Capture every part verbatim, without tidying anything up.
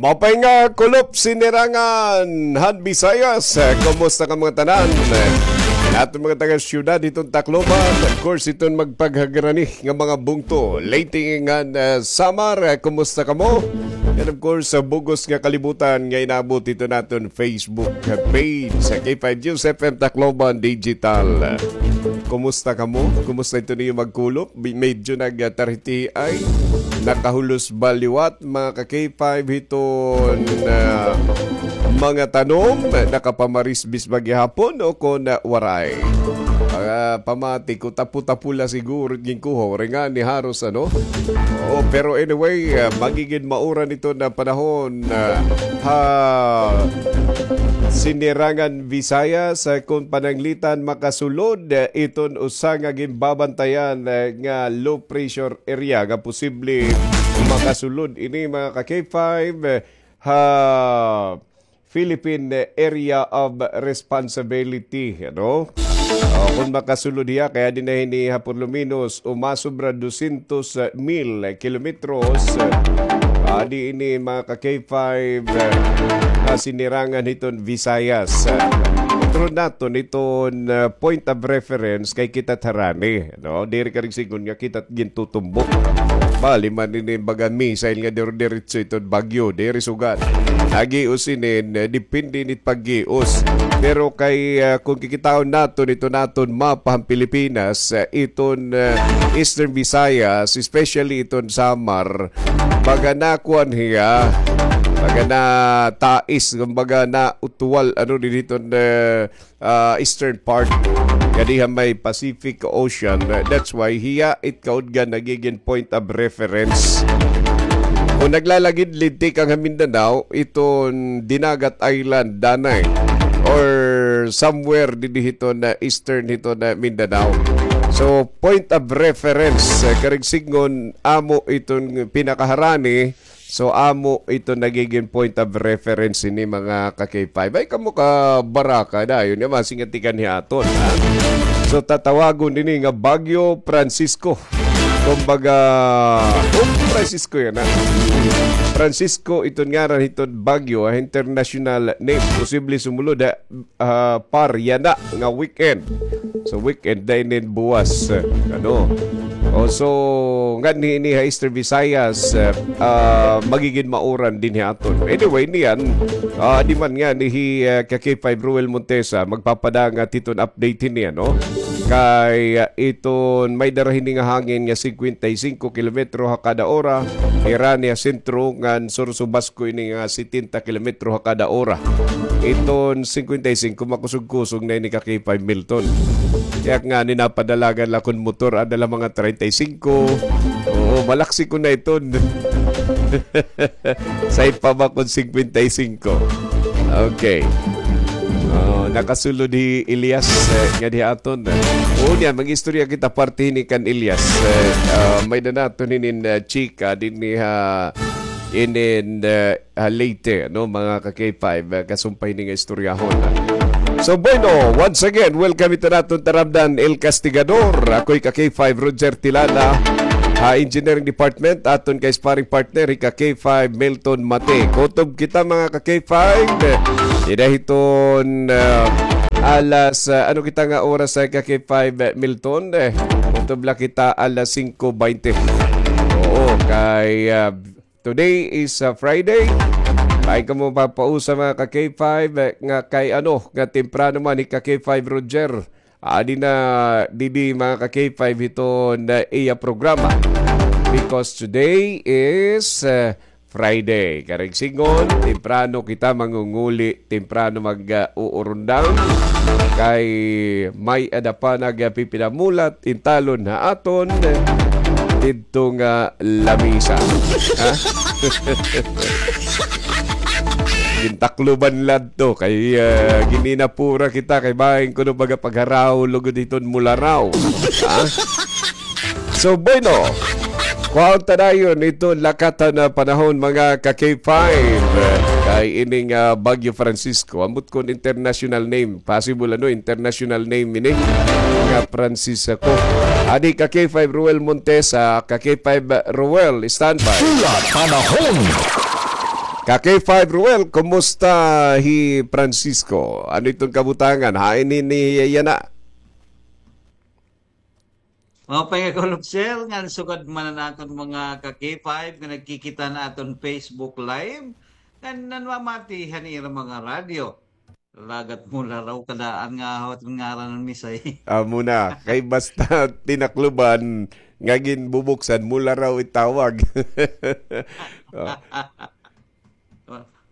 Maupay nga kulop, Sinirangan han Visayas. Eh, kumusta ka mga tanan? Eh, aton mga taga-syudad hiton Tacloban, of course, hiton magpaghagrani nga mga bungto. Leyte ngan, eh, Samar, eh, kumusta kamo? And of course, sa bug-os nga kalibutan nga inaabot hiton aton Facebook page, sa K five News F M Tacloban Digital. Kumusta kamo? Kumusta hiton iyo magkulop? Bi-, medyo nagtarhitiay, nakahulos ba liwat, mga ka-K five, hiton, ah, mga tanom, nakapamarisbis ba gihapon o kon, ah, waray? Ah, pamati ko, tapo-tapo la siguro it ginkuha, waray ngani haros, ano? Oo, pero anyway, ah, magigin mauran hiton panahon, ah, ha Sinirangan Visayas, ah, kon pananglitan makasulod, ah, iton usa nga ginbabantayan, ah, nga low pressure area nga posible makasulod ini, mga ka-K five, eh, ha Philippine Area of Responsibility, ano? O, kon makasulod hiya, kay adi na hini ha por lo menos, umasobra dosyentos mil kilometros. Adi ini, mga ka-K five, ah, Sinirangan hiton Visayas. Ah, kontrol naton iton, ah, point of reference kay kita harani, no? Diri karig sigon nga kita gintutumbok. Bali man ini baga missile nga diri diretso iton bagyo, diri sugad. Nagios ini, eh, depende ini it paggios. Pero kay, ah, kon kikitaon naton iton aton mapa han Pilipinas, ah, iton, ah, Eastern Visayas, especially iton Samar, baga nakuan hiya, baga natais, kumbaga nautuwal, ano, dinhi iton, eh, ah, eastern part nga diha may Pacific Ocean. That's why hiya it kaudgan nagigin point of reference. Kon naglalagid-lid tikang ha Mindanao, iton Dinagat Island danay or somewhere dinhi hiton eastern hiton Mindanao. So, point of reference, eh, karig sigon, amo iton pinakaharani. So, amo ito nagiging point of reference ini, mga ka-K five. Ay, kamo ka baraka dayon, nga masingat ikan hiaton, ha? So, tatawagon ini nga Bagyo Francisco. Kumbaga, oh, Francisco yana, ha? Francisco, iton ngaran hiton bagyo, ah, international name. Posible sumulod, ha? Ah, par yana nga weekend. So, weekend na inin buwas, eh, ano. O, so, nganhi ini ha Eastern Visayas, eh, ah, magigin mauran dinhi aton. Anyway, niyan, ah, di man ngani hi, eh, ka-K five Ruel Montesa, magpapadangat hiton update hini, ano? Kay, ah, iton may dara hini nga hangin nga singkwenta y singko kilometro ha kada ora, hira niya sentro ngan sursubasko ini nga setenta kilometro ha kada ora. Iton singkwenta y singko, makusog-kusog na ini ka-K five Milton. Kay ak ngani napadalagan la kon motor, ada la mga treinta y singko. Oo, malaksi ko na iton. Say pa ba kon singkwenta y singko? Okay. Oh, nakasulod hi Elias, eh, nganhi aton. Oo, niyan, mag-istorya kita parte hini kan Elias. Eh, ah, may-ada naton hinin, eh, chika dinhi ha inin, eh, ah, Leyte, no, mga ka-K five, ah, kasumpay ini nga istoryahon. So, bueno, once again, welcome ito naton taramdan, El Castigador. Ako'y ka-K five, Roger Tilala. Ha Engineering Department, aton kay sparring partner, hi ka-K five, Milton Mate. Kutob kita, mga ka-K five. Dida hiton, ah, alas, ah, ano kita nga oras sa ka-K five, Milton? Eh, kutob la kita alas singko baynte. Oo, kay, ah, today is, ah, Friday. Ay kamo papausa, mga ka-K five, eh, nga kay ano, nga temprano man hi ka-K five Roger. Adi na didi, mga ka-K five, hiton iya programa. Because today is, ah, Friday. Karig sigon, temprano kita mangunguli, temprano mag, ah, uurundang. Kay may-ada pa nagpipinamulat, intalon ha aton didto nga lamisa. Ha? Gintakloban la adto kay, ah, gininapura kita kay bahin kuno baga pagharaw lugod hiton mularaw. Ha? So, bueno, kuhaon ta dayon iton lakatan nga panahon, mga ka-K five. Kay ining, ah, Bagyo Francisco, ambot kon international name, possible, ano, international name ini nga Francisco. Adi ka-K five Ruel Montesa, ka-K five Ruel, standby. Hulat panahon. Ka K five Ruel, kumusta hi Francisco? Ano iton kabutangan? Hain ini yana? Maupay nga kulop, sir, ngan sugad man an aton mga ka K five nga nagkikita han aton Facebook Live, ngan nanmamati han ira mga radyo. Lagat Mularaw ka daan nga hawat ngaran ni Misay. Amo na. Kay basta Tinacloban nga ginbubuksan, Mularaw itawag. Oh.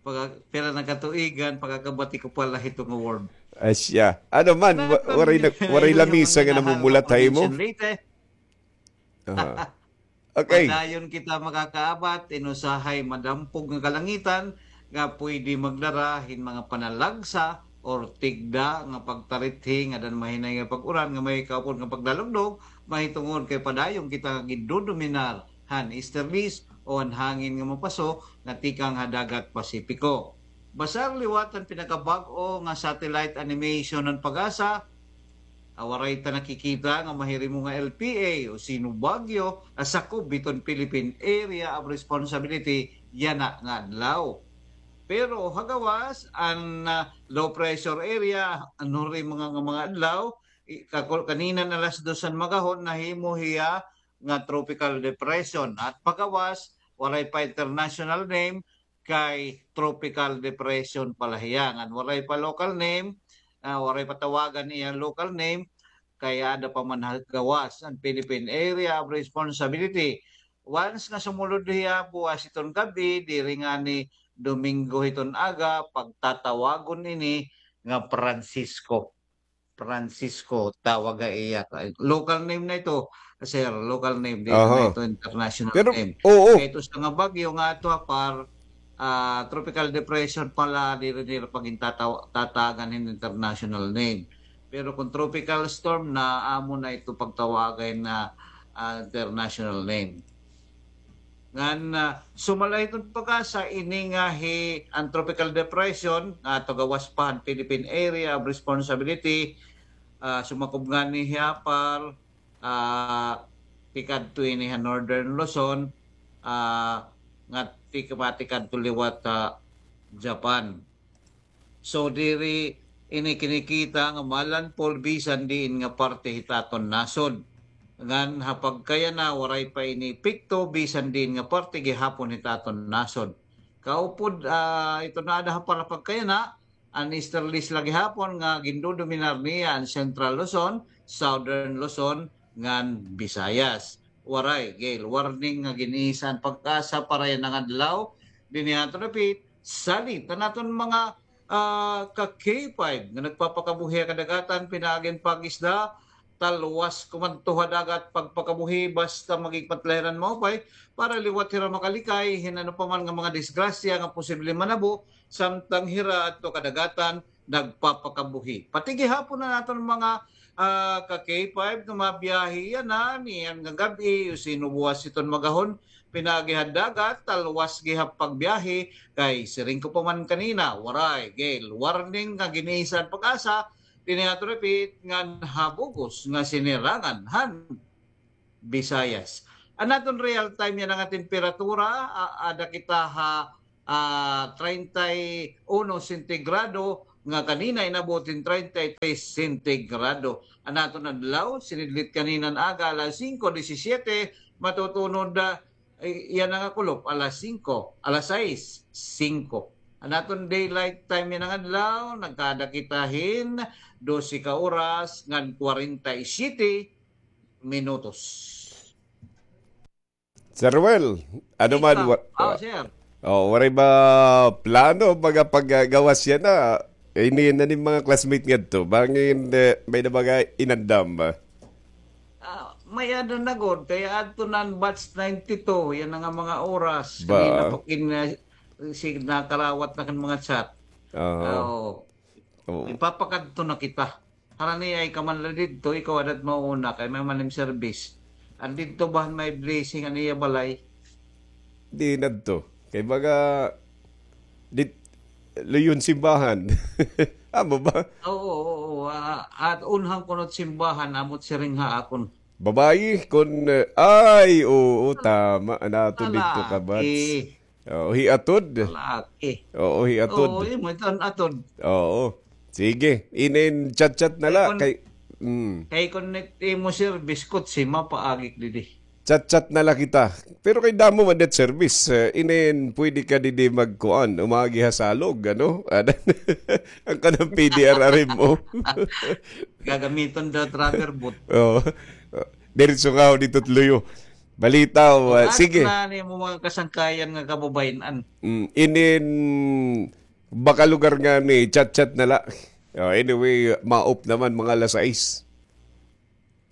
Pagka, pira na katuigan, pagkakabati ko pala hito nga word. Asya. Ano man, wa-, waray na, waray lamisa nga namumulat ha imo? Aha. Okay. Padayon kita makakaabat hin usahay madampog nga kalangitan nga pwede magdara hin mga panalagsa or tigda nga pagtarithi nga dan mahinay nga pag-uran nga may kaupod nga pagdalugdog, mahitungod kay padayon kita nga gindodominar han easterlies o an hangin nga mapaso nga tikang ha dagat Pasipiko. Basar liwat an pinakabag-o nga satellite animation han PAGASA, ah, waray ta nakikita nga mahirimo nga L P A o sino bagyo, ah, sakob hiton Philippine Area of Responsibility yana nga adlaw. Pero ha gawas, an, ah, low pressure area, ano rin mga, nga mga adlaw, i-, kakul-, kanina na alas dos han magahon, nahimo hiya nga tropical depression. At pagawas, waray pa international name, kay tropical depression pa la hiya. Ngan waray pa local name, ah, waray pa tawagan iya local name, kay aada pa man ha gawas an Philippine Area of Responsibility. Once nga sumulod hiya buwas hiton gab-i, diri ngani Domingo hiton aga, pagtatawagon ini nga Francisco. Francisco, tawag ha iya. Local name na ito, sir. Local name, diri na ito international name. Pero, oo. Kay ito sa nga bagyo nga ato, ha, par, ah, tropical depression pa la, diri nira pagintataw-, tatagan hin international name. Pero kung tropical storm na, amo na ito pagtawagan na, ah, international name. Ngan, ah, sumala hiton PAGASA ini nga hi, an tropical depression nga ato gawas pa han Philippine Area of Responsibility, ah, sumakob ngani hiya par, ah, tikadto ini ha Northern Luzon, ah, nga tik-, matikadto liwat ha Japan. So, diri ini kinikita nga malandfall bisan diin nga parte hit aton nasod. Ngan ha pagkayana, waray pa ini epekto bisan diin nga parte gihapon hit aton nasod. Kaupod, ah, ito na ada ha para pagkayana, an easterlies la gihapon nga gindodominar niya an Central Luzon, Southern Luzon, ngan Visayas. Waray, gale warning nga gin-iisa an PAGASA para yana nga adlaw. Dinhi aton repeat, salit an aton mga, ah, ka K five nga nagpapakabuhi ha kadagatan, pinaagi hin pag-isda, talwas kumadto ha dagat, pagpakabuhi, basta magigpatlahiran maupay, para liwat hira makalikay hin ano pa man nga mga disgrasya nga posible manabo, samtang hira adto kadagatan, nagpapakabuhi. Pati gihapon an aton mga, ah, ka K five nga mabiyahe yana, niyan nga gab-i, o sino buwas hiton magahon, pinaagi ha dagat, talwas gihap pagbiyahe, kay siring ko pa man kanina, waray, gale warning nga gin-iisa an PAGASA, dinhi aton repeat, ngan ha bug-os nga sinirangan han Visayas. An aton real time yana nga temperatura, a-, ada kita ha, ah, treinta y uno sentigrado, nga kanina inabot hin treinta y tres sentigrado. An aton adlaw, sinidlit kanina nga aga, alas singko disisiete, matutunod, ah, i-, yana nga kulop, alas singko, alas sais, singko. An aton daylight time yana nga adlaw, nagkaada kita hin dose ka oras ngan kwarenta y siyete minutos. Sir Ruel, ano man, wa-, oh, sir. Oh, waray ba plano, mga paggawas yana? Ini na ni mga classmate ngadto. Bangin, eh, may na mga inandam ba? Ah, may-ada na gud. Kay adto na an batch ninety-two, yana nga mga oras. Ba? Kanina pa kin-, eh, si-, nakarawat na kan mga chat. Oo. Oo. Oo. Ipapakadto na kita. Harani ay ka man la didto, ikaw adat mauna kay may man im service. An didto ba han may blessing an iya balay? Di nadto. Kay baga, dit-, luyon simbahan. Amo ba? Oo, oo, oo. Ah, at unhan kuno it simbahan, amo it siring ha akon. Babayi, kun, eh, ay, oo, tama. An aton didto ka batch. Oo, hiatod. Laki. Oo, hiatod. Oo, imo iton atod. Oo. Sige, inin chat-chat na la kay, mm. Kay kon it imo service, kutsi, mapaagi ak didi. Chat-chat na la kita. Pero kay damo man det service, eh, inin pwede ka didi magkuan, umagi ha Salog, ano? An kanan P D R R M mo. Gagamiton daw it rubber boot. Oo. Diretso nga ako dito, luyo. Balita, oh, ah, sige. At na ni mo mga kasangkayan nga kababayan-an. Mm, inin baka lugar nga ni chat-chat na la. Oh, anyway, maop naman mga alas sais.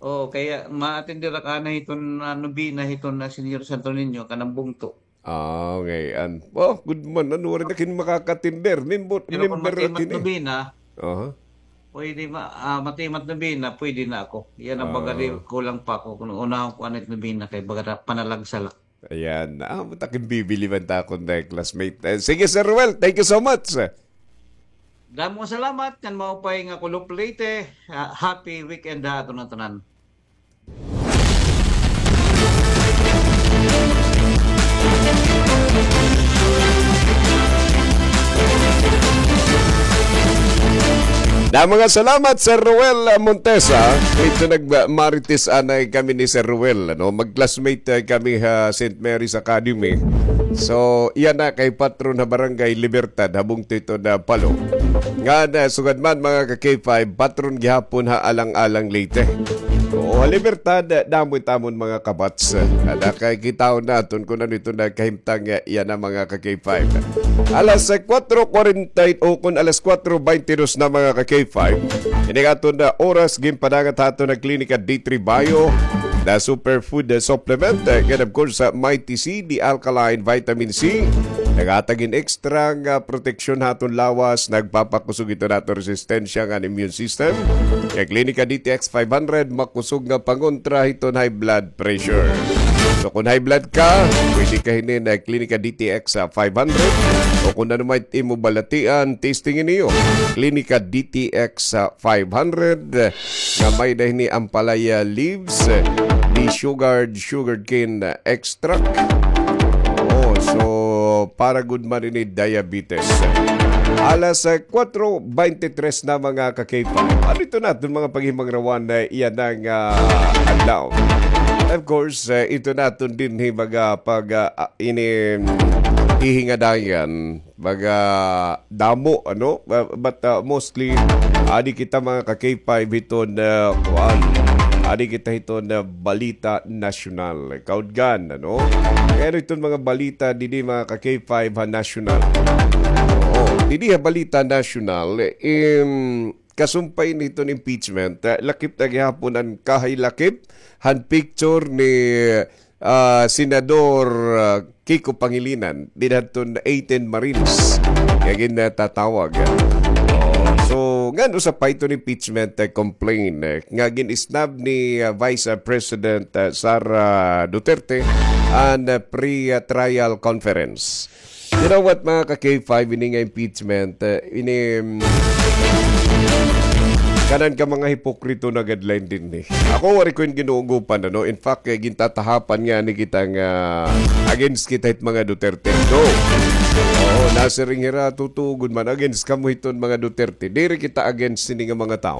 Oh, kaya ma-attender ak ana hiton, ah, nobena hiton, ah, Señor Santo Niño, kanan bungto. Ah, okay. An, oh, good man. Ano, waray na kin makakatinder. Nimbot, pero kon nimber matimat ini. Nobena, aha, pwede ma-, ah, matimat nobena, pwede na ako. Yan ang baga di, ah, kulang pa ako. Kung unahon ko anit nobena kay baga na panalagsa la. Ayan. Ah, matakin bibili man ta akon na classmate. Eh, sige, Sir Ruel, thank you so much. Damo salamat, ngan maupay nga Kulop Leyte. Ah, happy weekend ha aton nga tanan. Damo nga salamat, Sir Ruel Montesa. Ito nagmarites anay kami ni Sir Ruel, ano? Mag-classmate, eh, kami ha Saint Mary's Academy. So, iya na kay patron ha Barangay Libertad, ha bungto ito na Palo. Nga na, sugad man, mga ka-K five, patron gihapon ha Alang-alang, Leyte. Oo, ha Libertad, damo it amon mga kabats. Ada kay kitaon naton kun ano ito nagkahimtang, eh, iya na, mga ka-K five. Alas, eh, kuwatro kuwarenta, o kun alas kuwatro baynte dos na, mga ka-K five. Ini nga aton na oras, ginpadangat ha aton na Klinika D three Bio, na superfood, eh, supplement, eh, and of course, sa Mighty C, the alkaline vitamin C. Naghatag hin extra nga proteksyon ha aton lawas, nagpapakusog ito naton resistensya ngan immune system. Kay Klinika D T X five hundred, makusog nga pangontra hiton high blood pressure. So, kun high blood ka, pwede ka hini na Klinika D T X, ah, five hundred. O kun ano man imo balatian, testing niyo. Klinika D T X, ah, five hundred. Nga may-ada hini ampalaya leaves, desugared sugarcane extract. Oh, so para gud man ini diabetes. Alas, eh, kuwatro baynte tres na, mga ka-K five. Ano ito naton mga paghimangrawan na iyan ang, ah, adlaw? Of course, eh, ito naton dinhi mga pag, ah, ah, ini, mm, hihingadayan. Baga damo, ano? Ba-, but, uh, mostly, adi kita mga ka-K five hiton, uh, kuan. Adi kita hiton, uh, balita nasyonal. Kaudgan, ano? Pero iton mga balita didi mga ka-K five ha nasyonal. Oo, didi ha balita nasyonal, im, kasumpay niton impeachment, uh, lakip na gihapon an kahay lakip han picture ni ah, Senador, ah, Kiko Pangilinan, didto han eighteen Marines nga gintatawag. Oh, so, ngan usa pa iton impeachment, eh, complaint, eh, nga gin-snub ni, ah, Vice, ah, President, ah, Sara Duterte an, ah, pre-trial conference. You know what, mga ka-K five, ini nga impeachment, eh, ini, mm, kanan ka mga hipokrito na guideline dinhi. Ako, waray ko ini ginuugopan, ano? In fact, eh, gintatahapan ngani kita nga against kita hit mga Duterte. No. Oo, nasiring hira, tutugon man, against kamo hiton mga Duterte. Diri kita against sini nga mga tawo.